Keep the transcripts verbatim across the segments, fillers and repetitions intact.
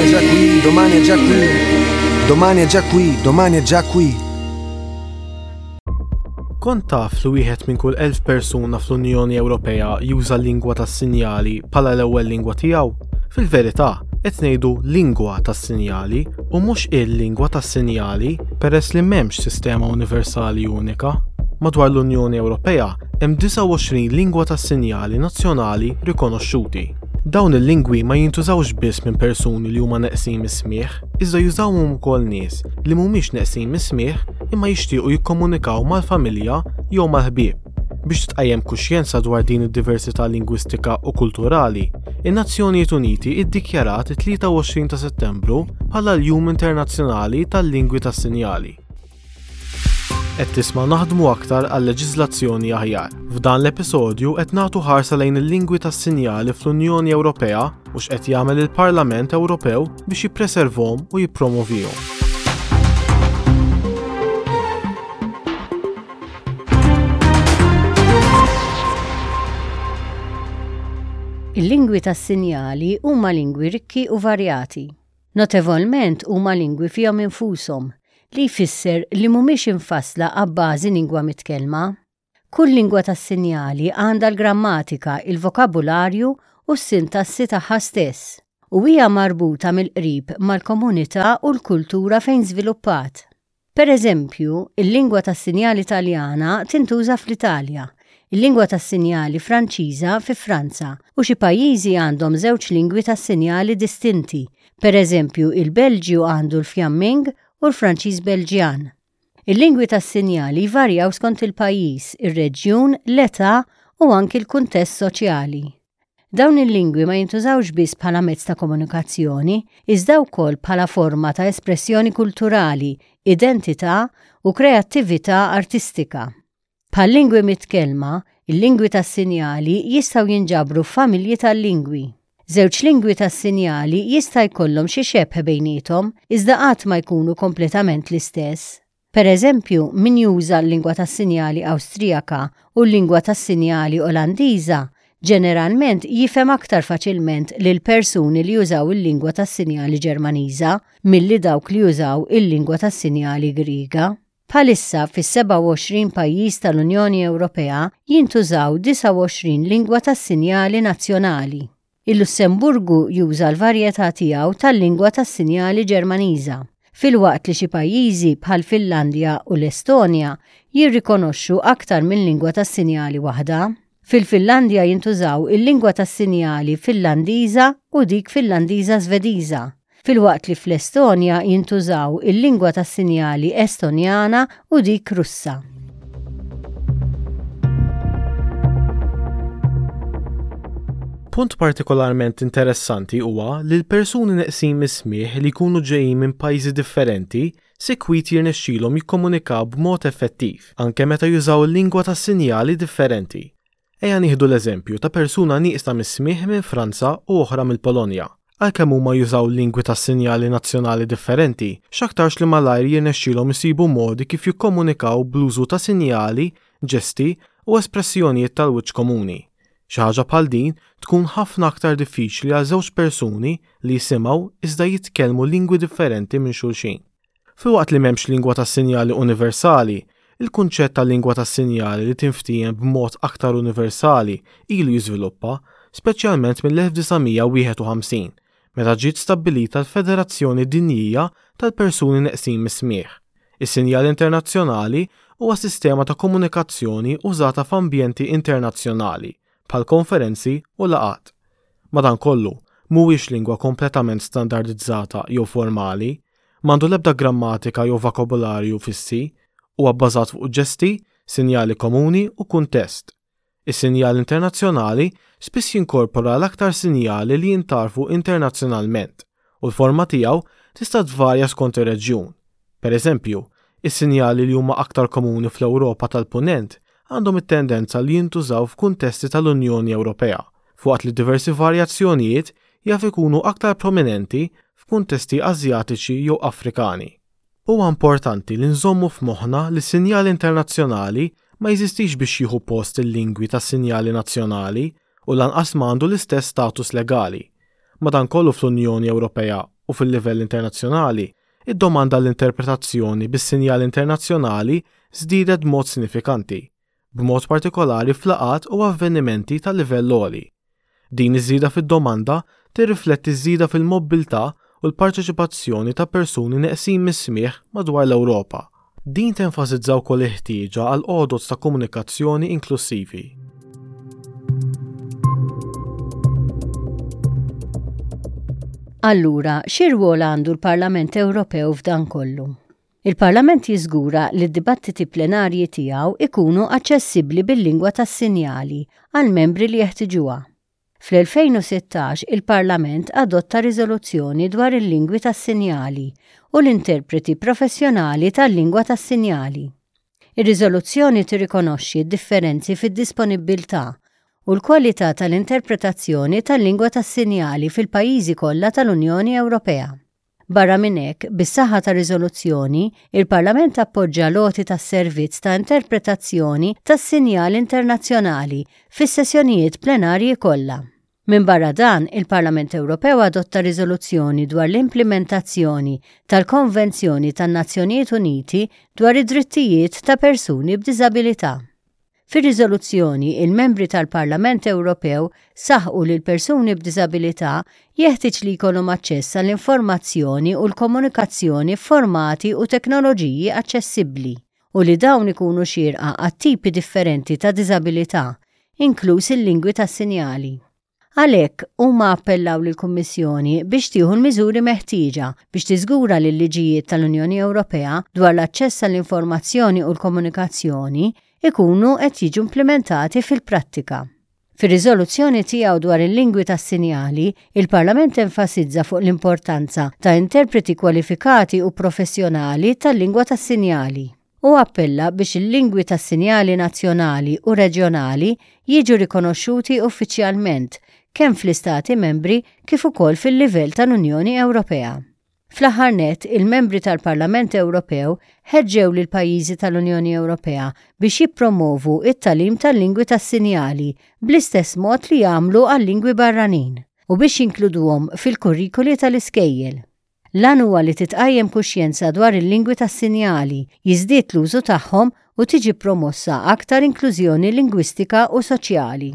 è già qui, domani è già qui. Domani è già qui, domani è già qui. Kont taf li wieħed minn kull elf persuna fl-Unjoni Ewropea juża lingwa tas-sinjali bħala l-ewwel lingwa tiegħu? Fil-verità, qed ngħidu lingwa tas-sinjali u mhux il-lingwa tas-sinjali peress li m'hemmx sistema universali unika. Madwar l-Unjoni Ewropea hemm disgħa u għoxrin lingwa tas-sinjali nazzjonali rikonoxxuti. Dawn il-lingwi ma jintużawx biss minn persuni li huma neqsin mis-smigħ, iżda jużawhom ukoll nies li mhumiex neqsin mis-smigħ imma jixtiequ jikkomunikaw mal-familja jew mal-ħbieb. Biex tqajjem kuxjenza dwar din id-diversità lingwistika u kulturali, in-Nazzjonijiet Uniti iddikjarat it-tlieta u għoxrin ta' Settembru bħala l-Jum Internazzjonali tal-Lingwi tas-Sinjali. Qed tisma' Naħdmu Aktar għal Leġiżlazzjoni Aħjar. F'dan l-episodju qed nagħtu ħarsa lejn il-lingwi tas-sinjali fl-Unjoni Ewropea u x'qed jagħmel il-Parlament Ewropew biex jippreservhom u jippromovihom. Il-lingwi tas-sinjali huma lingwi rikki u varjati. Notevolment huma lingwi fihom infushom, li jfisser li mhumiex infassla abbażi lingwa mitkellma. Kull lingwa tas-sinjali għandha l-grammatika, il-vokabularju u s-sintassi tagħha stess, u hija marbuta mill-qrib mal-komunità u l-kultura fejn żviluppat. Per eżempju, il-lingwa tas-sinjali Taljana tintuża fl-Italja, il-lingwa tas-sinjali Franċiża fi Franza, u xi pajjiżi għandhom żewġ lingwi tas-sinjali distinti, per eżempju il-Belġju għandu l-Fjamming u l-Franċiż Belġjan. Il-lingwi tas-sinjali jvarjaw skont il-pajjiż, ir-reġjun, l-età u anki l-kuntest soċjali. Dawn il-lingwi ma jintużawx biss bħala mezz ta' komunikazzjoni, iżda wkoll bħala forma ta' espressjoni kulturali, identità u kreattività artistika. Bħal lingwi mitkellma, il-lingwi tas-sinjali jistgħu jinġabru f'familji tal-lingwi. Żewġ lingwi tas-sinjali jista' jkollhom xi xebh bejniethom, iżda qatt ma jkunu kompletament l-istess. Per eżempju, min juża l-lingwa tas-sinjali Awstrijaka u l-lingwa tas-sinjali Olandiża ġeneralment jifhem aktar faċilment lil persuni li jużaw il-lingwa tas-sinjali Ġermaniża milli dawk li jużaw il-lingwa tas-sinjali Griega. Bħalissa fis-sebgħa u għoxrin pajjiż tal-Unjoni Ewropea jintużaw disgħa u għoxrin lingwa tas-sinjali nazzjonali. Il-Lussemburgu juża l-varjetà tiegħu tal-lingwa tas-sinjali Ġermaniża, filwaqt li xi pajjiżi bħal Finlandja u l-Estonja jirrikonoxxu aktar minn lingwa tas-sinjali waħda. Fil-Finlandja jintużaw il-lingwa tas-sinjali Finlandiża u dik Finlandiża Svediża, filwaqt li fl-Estonja jintużaw il-lingwa tas-sinjali Estonjana u dik Russa. Punt partikolarment interessanti huwa li l-persuni neqsin mis-smigħ li jkunu ġejjin minn pajjiżi differenti sikwit jirnexxilhom jikkomunikaw b'mod effettiv, anke meta jużaw il-lingwa tas-sinjali differenti. Ejja nieħdu l-eżempju ta' persuna nieqsa mis-smigħ minn Franza u oħra mill-Polonja. Għalkemm huma jużaw lingwi tas-sinjali nazzjonali differenti, x'aktarx li malajr jirnexxilhom isibu modi kif jikkomunikaw bl-użu ta' sinjali, ġesti u espressjonijiet tal-wiċċ komuni. Xi ħaġa bħal din tkun ħafna aktar diffiċli għal żewġ persuni li jisimgħu iżda jitkellmu lingwi differenti minn xulxin. Filwaqt li m'hemmx lingwa tas-sinjali universali, il-kunċett ta' lingwa tas-sinjali li tinftiehem b'mod aktar universali ilu jiżviluppa, speċjalment mill-elf disa' mija wieħed u ħamsin, meta ġiet stabbilita l-Federazzjoni Dinjija tal-Persuni Neqsin mis-Smigħ. Is-sinjal internazzjonali huwa sistema ta' komunikazzjoni użata f'ambjenti internazzjonali bħal konferenzi u laqgħat. Madankollu, mhuwiex lingwa kompletament standardizzata jew formali, m'għandu l-ebda grammatika jew vokabularju fissi, huwa bbażat fuq ġesti, sinjali komuni u kuntest. Is-sinjal internazzjonali spiss jinkorpora l-aktar sinjali li jintgħarfu internazzjonalment u l-forma tiegħu tista' tvarja skont ir-reġjun. Per eżempju, is-sinjali li huma aktar komuni fl-Ewropa tal-Punent għandhom it-tendenza li jintużaw f'kuntesti tal-Unjoni Ewropea, fuqat li diversi varjazzjonijiet jaf ikunu aktar prominenti f'kuntesti Asjatiċi jew Afrikani. Huwa importanti li nżommu f'moħħna li s-sinjali internazzjonali ma jeżistix biex jieħu post il-lingwi tas-sinjali nazzjonali u lanqas m'għandu l-istess status legali. Madankollu fl-Unjoni Ewropea u fil-livell internazzjonali, id-domanda għall-interpretazzjoni bis-sinjal internazzjonali żdiedet b'mod sinifikanti, b'mod partikolari f'laqgħat u avvenimenti ta' livell għoli. Din iż-żieda fid-domanda tirrifletti żieda fil-mobbiltà u l-parteċipazzjoni ta' persuni neqsin mis-smigħ madwar l-Ewropa. Din tenfasizza wkoll il-ħtieġa għal għodod ta' komunikazzjoni inklusivi. Allura, xi rwol għandu l-Parlament Ewropew f'dan kollu? Il-Parlament jiżgura li d-dibattiti plenarji tiegħu ikunu aċċessibbli bil-lingwa tas-sinjali għal membri li jeħtiġuha. Fl-elfejn u sittax il-Parlament adotta riżoluzzjoni dwar il-lingwi tas-sinjali u l-interpreti professjonali tal-lingwa tas-sinjali. Ir-riżoluzzjoni tirrikonoxxi d-differenzi fid-disponibbiltà u l-kwalità tal-interpretazzjoni tal-lingwa tas-sinjali fil-pajjiżi kollha tal-Unjoni Ewropea. Barra minn hekk, bis-saħħa ta' riżoluzzjoni, il-Parlament appoġġa l-għoti tas-servizz ta' interpretazzjoni tas-sinjal internazzjonali fis-sessjonijiet plenarji kollha. Minn barra dan, il-Parlament Ewropew adotta riżoluzzjoni dwar l-implementazzjoni tal-Konvenzjoni tan-Nazzjonijiet Uniti dwar id-drittijiet ta' persuni b'diżabilità. Fir-riżoluzzjoni, il-membri tal-Parlament Ewropew saħqu li l-persuni b'diżabilità jeħtieġ li jkollhom aċċess għall-informazzjoni u l-komunikazzjoni f'formati u teknoloġiji aċċessibbli u li dawn ikunu xierqa għat-tipi differenti ta' diżabilità, inkluż il-lingwi tas-sinjali. Għalhekk, huma appellaw lill-Kummissjoni biex tieħu l-miżuri meħtieġa biex tiżgura li l-liġijiet tal-Unjoni Ewropea dwar l-aċċess għall-informazzjoni u l-komunikazzjoni ikunu qed jiġu implementati fil-prattika. Fir-riżoluzzjoni tiegħu dwar il-lingwi tas-sinjali, il-Parlament enfasizza fuq l-importanza ta' interpreti kwalifikati u professjonali tal-lingwa tas-sinjali u appella biex il-lingwi tas-sinjali nazzjonali u reġjonali jiġu rikonoxxuti uffiċjalment kemm fl-Istati membri kif ukoll fil-livell tal-Unjoni Ewropea. Fl-aħħar nett, il-membri tal-Parlament Ewropew ħeġġew lil pajjiżi tal-Unjoni Ewropea biex jippromovu it-tagħlim tal-lingwi tas-sinjali bl-istess mod li jagħmlu għal-lingwi barranin u biex jinkluduhom fil-kurrikuli tal-iskejjel. L-għan huwa li titqajjem kuxjenza dwar il-lingwi tas-sinjali, jiżdied l-użu tagħhom u tiġi promossa aktar inklużjoni lingwistika u soċjali.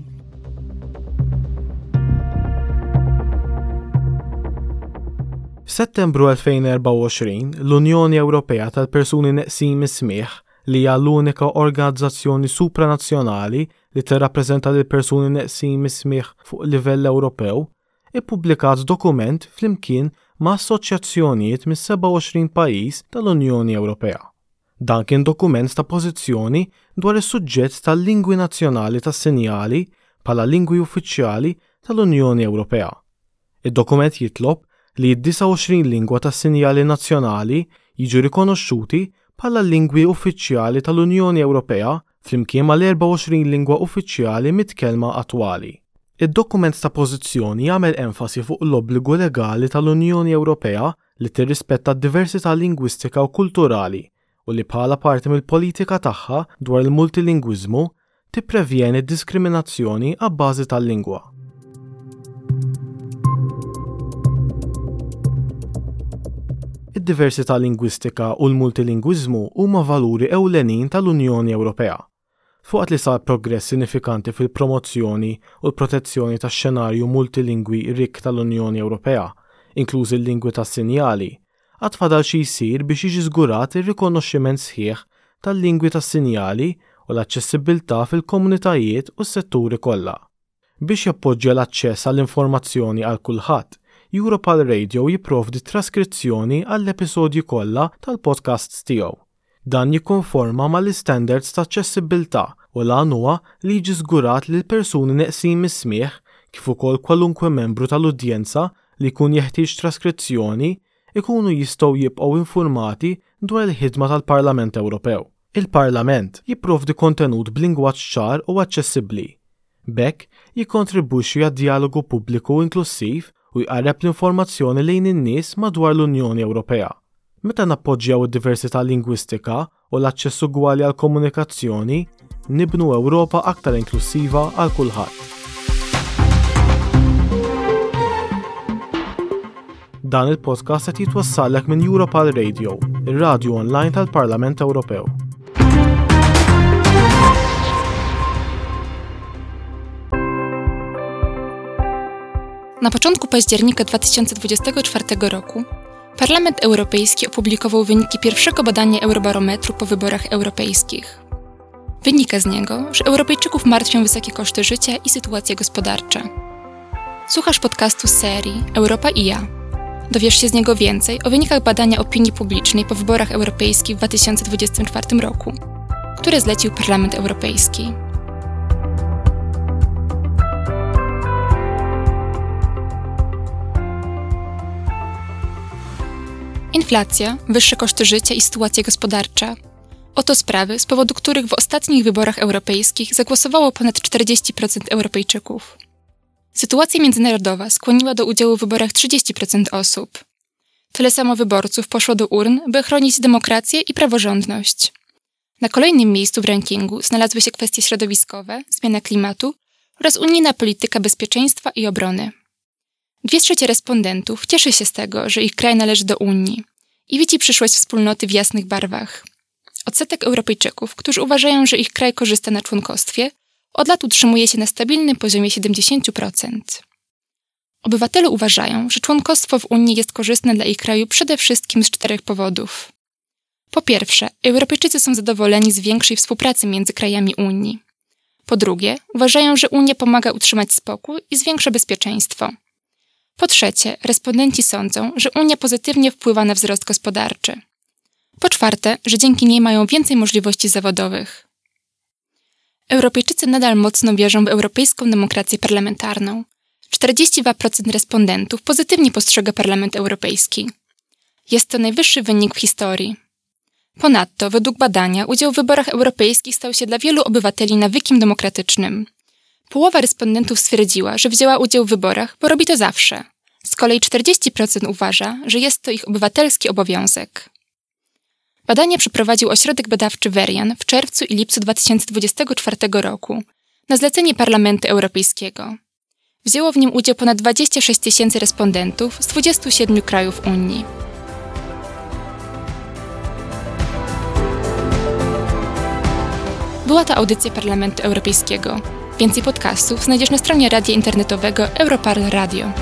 F'Settembru elfejn u erbgħa u għoxrin, l-Unjoni Ewropea tal-Persuni Neqsin mis-Smigħ, li hija l-unika organizzazzjoni supranazzjonali li tirrappreżenta lil persuni neqsin mis-smigħ fuq livell Ewropew, ippubblikat dokument flimkien ma' assoċjazzjonijiet mis-sebgħa u għoxrin pajjiż tal-Unjoni Ewropea. Dan kien dokument ta' pożizzjoni dwar is-suġġett tal-lingwi nazzjonali tas-sinjali bħala lingwi uffiċjali tal-Unjoni Ewropea. Id-dokument jitlob li d-disgħa u għoxrin lingwa tas-sinjali nazzjonali jiġu rikonoxxuti bħala lingwi uffiċjali tal-Unjoni Ewropea flimkien mal-erbgħa u għoxrin lingwa uffiċjali mitkellma attwali. Id-dokument ta' pożizzjoni jagħmel enfasi fuq l-obbligu legali tal-Unjoni Ewropea li tirrispetta d-diversità lingwistika u kulturali u li bħala parti mill-politika tagħha dwar il-multilingwiżmu tipprevjeni d-diskriminazzjoni abbażi tal-lingwa. Id-diversità lingwistika u l-multilingwiżmu huma valuri ewlenin tal-Unjoni Ewropea. Fuqat li sar progress sinifikanti fil-promozzjoni u l-protezzjoni tax-xenarju multilingwi rikk tal-Unjoni Ewropea, inklużi l-lingwi tas-sinjali, għad fadal xi jsir biex jiġi żgurat ir-rikonoxximent sħiħ tal-lingwi tas-sinjali u l-aċċessibbiltà fil-komunitajiet u s-setturi kollha. Biex jappoġġja l-aċċess għall-informazzjoni għal kulħadd, Europal Radio jipprovdi traskrizzjoni għall-episodji kollha tal-podcasts tiegħu. Dan jikkonforma mal-istandards ta' aċċessibbiltà u l-għan huwa li jiġi żgurat li l-persuni neqsin mis-smigħ kif ukoll kwalunkwe membru tal-udjenza li jkun jeħtieġ traskrizzjoni ikunu jistgħu jibqgħu informati dwar il-ħidma tal-Parlament Ewropew. Il-Parlament jipprovdi kontenut b'lingwaġġ ċar u aċċessibbli. B'hekk jikkontribwixxi għad-dialogu pubbliku inklussiv u jqarreb l-informazzjoni lejn in-nies madwar l-Unjoni Ewropea. Meta nappoġġjaw id-diversità lingwistika u l-aċċess ugwali għall-komunikazzjoni, nibnu Ewropa aktar inklusiva għal kulħadd. Dan il-podcast qed jitwassallek minn Europarl Radio, ir-radju online tal-Parlament Ewropew. Na początku października dwa tysiące dwudziestego czwartego roku Parlament Europejski opublikował wyniki pierwszego badania Eurobarometru po wyborach europejskich. Wynika z niego, że Europejczyków martwią wysokie koszty życia i sytuacja gospodarcza. Słuchasz podcastu z serii Europa i ja. Dowiesz się z niego więcej o wynikach badania opinii publicznej po wyborach europejskich w dwa tysiące dwudziestym czwartym roku, które zlecił Parlament Europejski. Inflacja, wyższe koszty życia i sytuacja gospodarcza. Oto sprawy, z powodu których w ostatnich wyborach europejskich zagłosowało ponad czterdzieści procent Europejczyków. Sytuacja międzynarodowa skłoniła do udziału w wyborach trzydzieści procent osób. Tyle samo wyborców poszło do urn, by chronić demokrację i praworządność. Na kolejnym miejscu w rankingu znalazły się kwestie środowiskowe, zmiana klimatu oraz unijna polityka bezpieczeństwa i obrony. Dwie trzecie respondentów cieszy się z tego, że ich kraj należy do Unii i widzi przyszłość wspólnoty w jasnych barwach. Odsetek Europejczyków, którzy uważają, że ich kraj korzysta na członkostwie, od lat utrzymuje się na stabilnym poziomie siedemdziesięciu procent. Obywatele uważają, że członkostwo w Unii jest korzystne dla ich kraju przede wszystkim z czterech powodów. Po pierwsze, Europejczycy są zadowoleni z większej współpracy między krajami Unii. Po drugie, uważają, że Unia pomaga utrzymać spokój i zwiększa bezpieczeństwo. Po trzecie, respondenci sądzą, że Unia pozytywnie wpływa na wzrost gospodarczy. Po czwarte, że dzięki niej mają więcej możliwości zawodowych. Europejczycy nadal mocno wierzą w europejską demokrację parlamentarną. czterdzieści dwa procent respondentów pozytywnie postrzega Parlament Europejski. Jest to najwyższy wynik w historii. Ponadto, według badania, udział w wyborach europejskich stał się dla wielu obywateli nawykiem demokratycznym. Połowa respondentów stwierdziła, że wzięła udział w wyborach, bo robi to zawsze. Z kolei czterdzieści procent uważa, że jest to ich obywatelski obowiązek. Badanie przeprowadził ośrodek badawczy Verian w czerwcu i lipcu dwa tysiące dwudziestego czwartego roku na zlecenie Parlamentu Europejskiego. Wzięło w nim udział ponad dwadzieścia sześć tysięcy respondentów z dwudziestu siedmiu krajów Unii. Była to audycja Parlamentu Europejskiego. Więcej podcastów znajdziesz na stronie radia internetowego Europarl Radio.